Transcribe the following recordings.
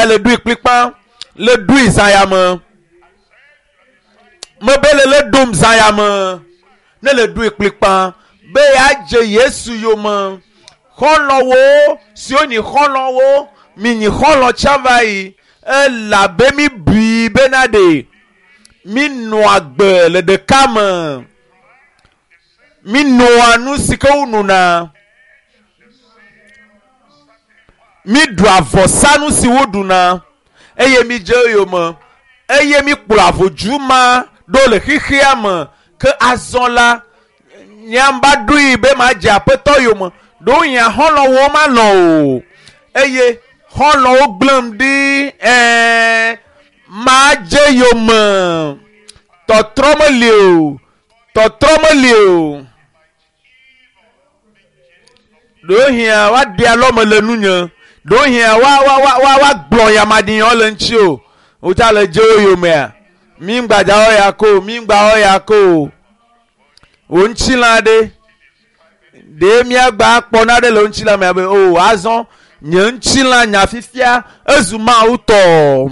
ya le ɖui kplikpa le ɖui zã ya me mebe le le ɖom zã ya me ne le ɖui kplikpa be yeadze Yesu yome xɔlɔ̃wo siwo nyi xɔlɔ̃wo mi nyi xɔlɔ̃ tsã va yi elabe mi bui bena ɖe mi nɔa agbe le ɖeka me mi noa nu si ke wonona mi ɖua avɔsanu si woɖuna eye mi dze eyome eye mi kplɔ avodzu ma ɖo le xexea me ke azɔ la nyamba ɖoe be madze aƒetɔ yome ɖewohĩ xɔlɔ̃wo malɔ̃ o eye xɔlɔ̃wo gblẽm ɖi ɛɛ madze yome tɔtrɔ meli o tɔtrɔ meli o ɖewohĩa woaɖe alɔme le nunye ɖewohĩa wa wa wa wa woagblɔ yamaɖinyɔ le ŋuti o wotsa le dze wo yomea mi ŋgbadzawo ya ko o mi ŋgbawo ya ko o wò ŋutilã ɖe ɖe míagba akpɔ na ɖe le ŋutilã me abe o azɔ nye ŋutilã nya fifia ezu Mawu tɔ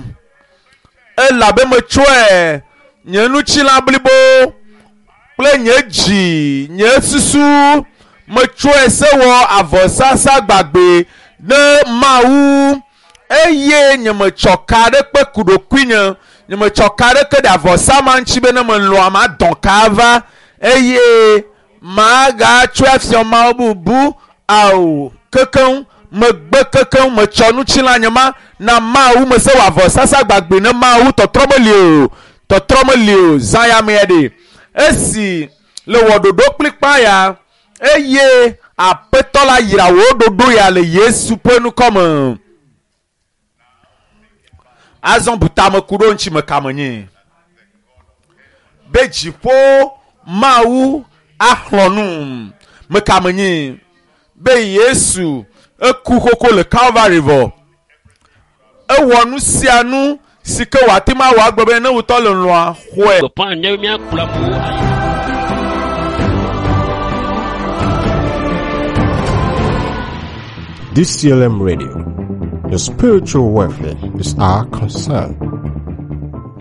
elabe metsɔe nye ŋutilã blibo kple nye dzi nye susu metsɔe se wɔ avɔsasa gbagbe ne Mawu eye nye metsɔ ka ɖe kpe ku ɖokuinye nye metsɔ ka ɖe ke ɖe avɔsa ma ŋuti be ne melɔa madɔn ka va eye magatsɔe afiɔ Mawu bubu ao kekeŋ megbe kekeŋ metsɔ ŋutilã nye ma na Mawu mese wɔ avɔsasa gbagbe ne Mawu tɔtrɔ meli o tɔtrɔ meli o zã ya mea ɖe esi le wɔ ɖoɖo kplikpa ya eye aƒetɔ la yra wò ɖoɖo ya le Yesu ƒe ŋkɔme azɔ bu tame ku ɖo ŋuti me kame nyi be dziƒo Mawu axlɔ̃ nu me kame nyi be Yesu eku xoxo le Calvary vɔ ewɔ nu sia nu si ke wòate ŋu awɔ agblɔ be ne wòtɔ le lɔa xɔe. Gbeƒã nye míakplɔ amewo ayi. DCLM Radio. Your spiritual welfare is our concern.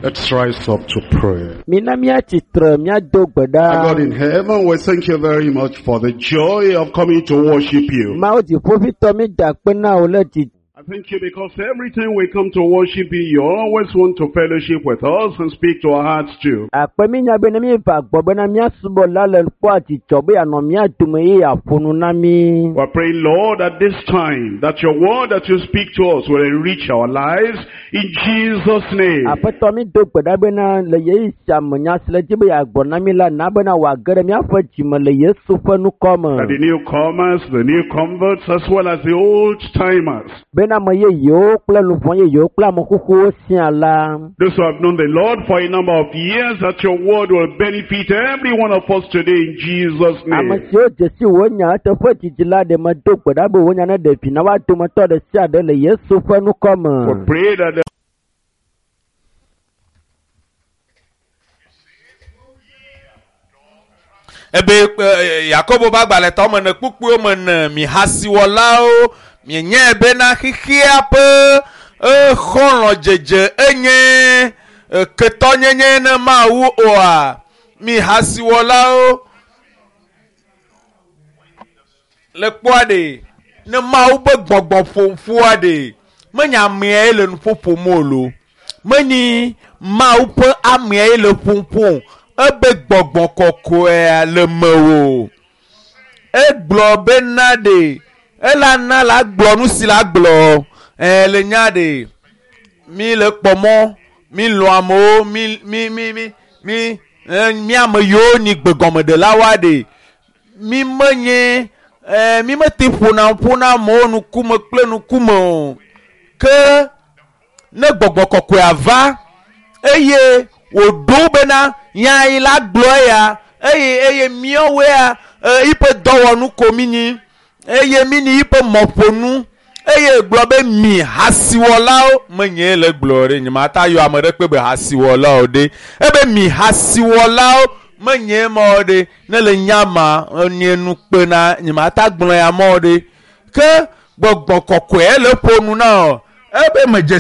Let's rise up to pray. Mina míatsitre míado gbe Our God ɖa. in heaven, we thank you very much for the joy of coming to worship you. Mawu dziƒoʋĩtɔ mi da akpe na wò le dzi I thank you because every time we come to worship you, you always want to fellowship with us and speak to our hearts too. akpe mi nya be ne míeva gbɔ bena míasubɔ la le kpɔa dzidzɔ be yeanɔ mía dome eye yeaƒo nu na mí. We pray, Lord, at this time that your word that you speak to us will enrich our lives in Jesus' name. Aƒetɔ mi do gbe ɖa bena le ɣeyiɣi sia me nya si le dzi be yeagblɔ na mí la na bena wòage ɖe míaƒe dzime le Yesu ƒe ŋkɔ me. That the newcomers, the new converts, as well as the old timers, Bena ame yeyewo kple luʋɔ yeyewo kple ame xoxowo sia la. those who have known the Lord for a number of years, that your word will benefit every one of us today in Jesus' Ame name. siwo dze si wò nya eteƒe dzidzi la ɖe medo gbe ɖa be wò nya neɖe vi na woa dometɔ ɖe sia ɖe le Yesu ƒe ŋkɔ me. We pray that the ebe e, Yakobo ƒe agbalẽtɔ me ne kpukpuiwo me ne mi hasiwɔlawo mienyae bena xexea ƒe exɔlɔ̃dzedze enye e, ketɔnyenye ne Mawu oa mi hasiwɔlawo le kpɔa ɖe ne Mawu be gbɔgbɔ ƒoƒoa ɖe menye ameae le nu ƒoƒom o lo menye Mawu ƒe ameae le ƒoƒom ebe gbɔgbɔ kɔkɔea le mewò egblɔ bena ɖe ela na la gblɔ nu si la gblɔ ɛɛ le nya ɖe mi le kpɔ mɔ mi lɔ̃ amewo mi mi mi mi mi ɛ mi ame yiwo nyi gbegɔmeɖelawoa ɖe mi menye ɛɛ mi mete ƒona ƒona amewo ŋkume kple ŋkume o ke ne gbɔgbɔ kɔkɔea va eye wòɖo bena nya yi la gblɔ ya eye eye míawoea e, yiƒe dɔwɔnu ko mi nyi eye mi nyi yiƒe mɔƒonu eye gblɔ be mi hasiwɔlawo menye le gblɔ ɖe nye mata yɔ ame ɖe kpe be hasiwɔlawo ɖe ebe mi hasiwɔlawo menye mɔ ɖe ne le nya ma nye nu kpena nye mata gblɔ ya mɔ ɖe ke gbɔgbɔ kɔkɔe le ƒo nu na o ebe medze